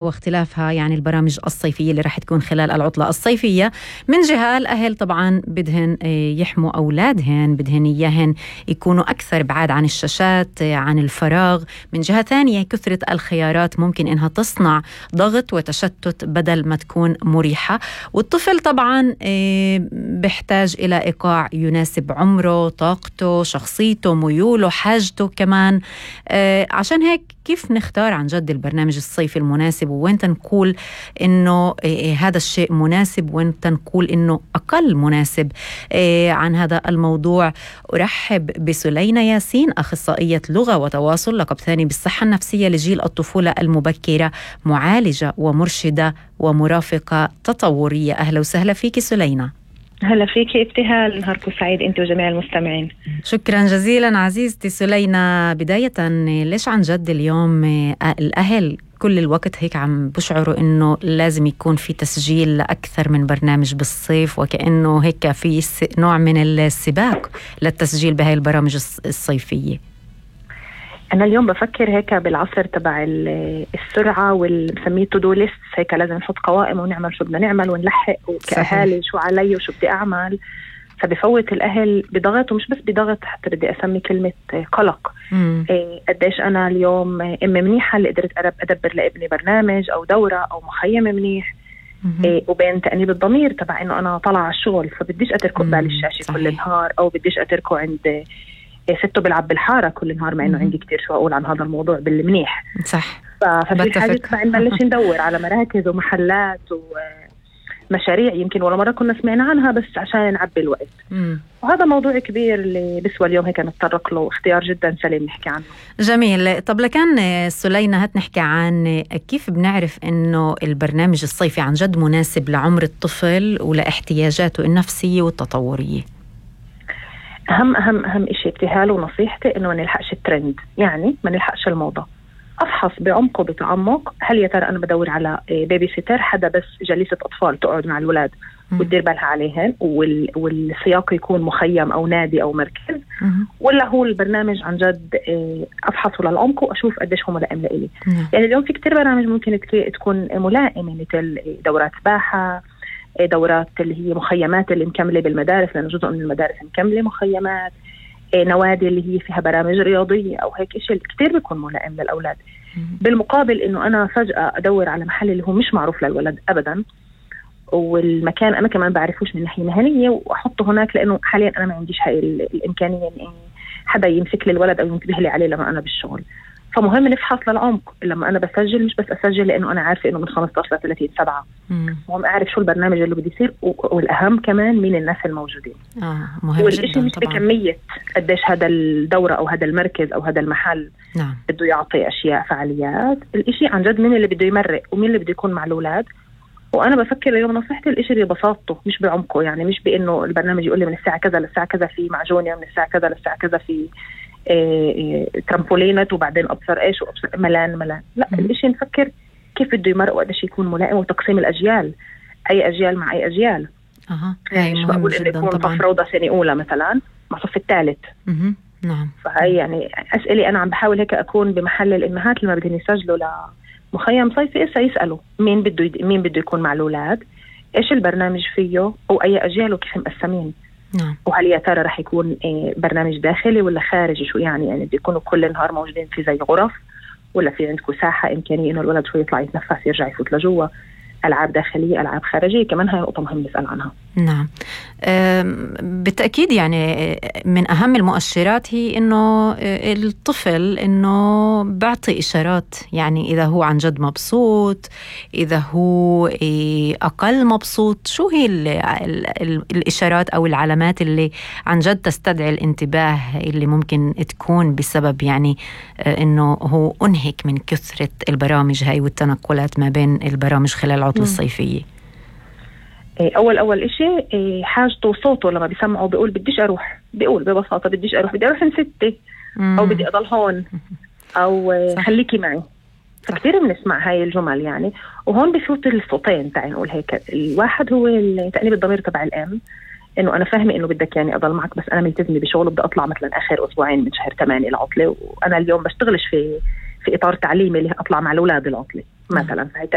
واختلافها يعني البرامج الصيفية اللي رح تكون خلال العطلة الصيفية. من جهة الأهل طبعا بدهن يحموا أولادهن، بدهن إياهن يكونوا أكثر بعاد عن الشاشات، عن الفراغ. من جهة ثانية كثرة الخيارات ممكن إنها تصنع ضغط وتشتت بدل ما تكون مريحة. والطفل طبعا بيحتاج إلى إيقاع يناسب عمره، طاقته، شخصيته، ميوله، حاجته كمان. عشان هيك كيف نختار عن جد البرنامج الصيفي المناسب، وين تنقول إنه هذا الشيء مناسب، وين تنقول إنه أقل مناسب. عن هذا الموضوع أرحب بسلينة ياسين، أخصائية لغة وتواصل، لقب ثاني بالصحة النفسية لجيل الطفولة المبكرة، معالجة ومرشدة ومرافقة تطورية. أهلا وسهلا فيك سلينة. هلا فيك ابتهال، نهاركم سعيد انت وجميع المستمعين. شكرا جزيلا عزيزتي سلينة. بداية ليش عن جد اليوم الأهل كل الوقت هيك عم بشعروا إنه لازم يكون في تسجيل لأكثر من برنامج بالصيف، وكأنه هيك في نوع من السباق للتسجيل بهاي البرامج الصيفية؟ أنا اليوم بفكر هيك بالعصر تبع السرعة والنسميه تو دو ليست، هيك لازم نحط قوائم ونعمل شو بدنا نعمل ونلحق، وكأهالي شو علي وشو بدي أعمل. فبفوت الأهل بضغط، ومش بس بضغط، حتى بدي أسمي كلمة قلق. قديش أنا اليوم أم منيحة اللي قدرت أدبر لابني برنامج أو دورة أو مخيم منيح، وبين تأنيب الضمير تبع إنه أنا طلع على الشغل فبديش أتركه قبال الشاشة كل النهار، أو بديش أتركه عند سته بلعب بالحارة كل النهار، مع إنه عندي كتير شو أقول عن هذا الموضوع بالمنيح. صح. ففي حاجة تبع نبلش ندور على مراكز ومحلات ومشاريع يمكن ولا مرة كنا سمعنا عنها، بس عشان نعبي الوقت. وهذا موضوع كبير اللي بسوى اليوم هيك نتطرق له، اختيار جدا سليم نحكي عنه. جميل. طب لكان سلينة هات نحكي عن كيف بنعرف إنه البرنامج الصيفي عن جد مناسب لعمر الطفل ولاحتياجاته النفسية والتطورية. أهم إشي ابتهال ونصيحتي إنه ما نلحقش الترند، يعني ما نلحقش الموضة. أفحص بعمق وبتعمق، هل يا ترى أنا بدور على بيبي سيتر، حدا بس جليسة أطفال تقعد مع الولاد وتدير بالها عليهن، والسياق يكون مخيم أو نادي أو مركز، ولا هو البرنامج عن جد أفحصه للعمق وأشوف قديش هو ملائم لإلي. يعني اليوم في كتير برامج ممكن تكون ملائمة، مثل دورات سباحة، دورات اللي هي مخيمات اللي مكملة بالمدارس، لأنه جزء من المدارس مكملة مخيمات، نوادي اللي هي فيها برامج رياضية أو هيك إشي كتير بيكون ملائم للأولاد. بالمقابل إنه أنا فجأة أدور على محل اللي هو مش معروف للولد أبدا، والمكان أنا كمان بعرفوش من ناحية مهنية، وأحطه هناك لأنه حاليا أنا ما عنديش هاي الإمكانية إن حدا يمسك لي الولد أو ينتبه لي عليه لما أنا بالشغل. فمهم نفحص للعمق. لما أنا بسجل مش بس أسجل لأنه أنا عارفة إنه من 15 ل 30/7، مهم أعرف شو البرنامج اللي بدي يصير، والأهم كمان مين الناس الموجودين. مهم والإشي مش بكمية قديش هذا الدورة أو هذا المركز أو هذا المحل بده يعطي أشياء فعاليات. الإشي عن جد مين اللي بده يمرق ومين اللي بده يكون مع الأولاد. وأنا بفكر اليوم نصيحتي الإشي ببساطته مش بعمقه، يعني مش بإنه البرنامج يقول لي من الساعة كذا للساعة كذا في معجونة، من الساعة كذا للساعة كذا في ترامبولينات، وبعدين أبصر إيش وأبصر ملان. لا، الإشي نفكر كيف بده يمرق وقديش يكون ملائم، وتقسيم الأجيال، أي أجيال مع أي أجيال. يعني مش بقول إنه يكون صف روضة سنة أولى مثلا مع صف الثالث. نعم. فهي يعني أسئلة أنا عم بحاول هيك أكون بمحل الأمهات لما بدهم يسجلوا لمخيم صيفي يسألوا مين بده يكون مع الأولاد، إيش البرنامج فيه، وأي أجيال وكيف مقسمين. وهل يا ترى رح يكون برنامج داخلي ولا خارجي؟ شو يعني بده يكونوا كل النهار موجودين في زي غرف، ولا في عندكم ساحة إمكانية إنه الولد شوي يطلع يتنفس يرجع يفوت لجوا؟ ألعاب داخلية، ألعاب خارجية، كمان هاي نقطة مهم نسأل عنها. نعم. بالتأكيد يعني من أهم المؤشرات هي إنه الطفل إنه بعطي إشارات، يعني إذا هو عن جد مبسوط، إذا هو أقل مبسوط. شو هي الإشارات أو العلامات اللي عن جد تستدعي الانتباه، اللي ممكن تكون بسبب يعني إنه هو أنهك من كثرة البرامج هاي والتنقلات ما بين البرامج خلال العطلة الصيفية؟ أول إشي حاجته وصوته، لما بيسمعه بيقول بديش أروح، بيقول ببساطة بديش أروح، بدي أروح نستي، أو بدي أضل هون، أو خليكي معي. كثير بنسمع هاي الجمل يعني. وهون بفوت الصوتين تعي نقول هيك. الواحد هو تأنيب الضمير تبع الأم، إنه أنا فاهمة إنه بدك يعني أضل معك، بس أنا ملتزمة بشغل وبدي أطلع مثلا آخر أسبوعين من شهر 8 العطلة، وأنا اليوم بشتغلش في إطار تعليمي اللي أطلع مع الأولاد العطلة. مثلا. هي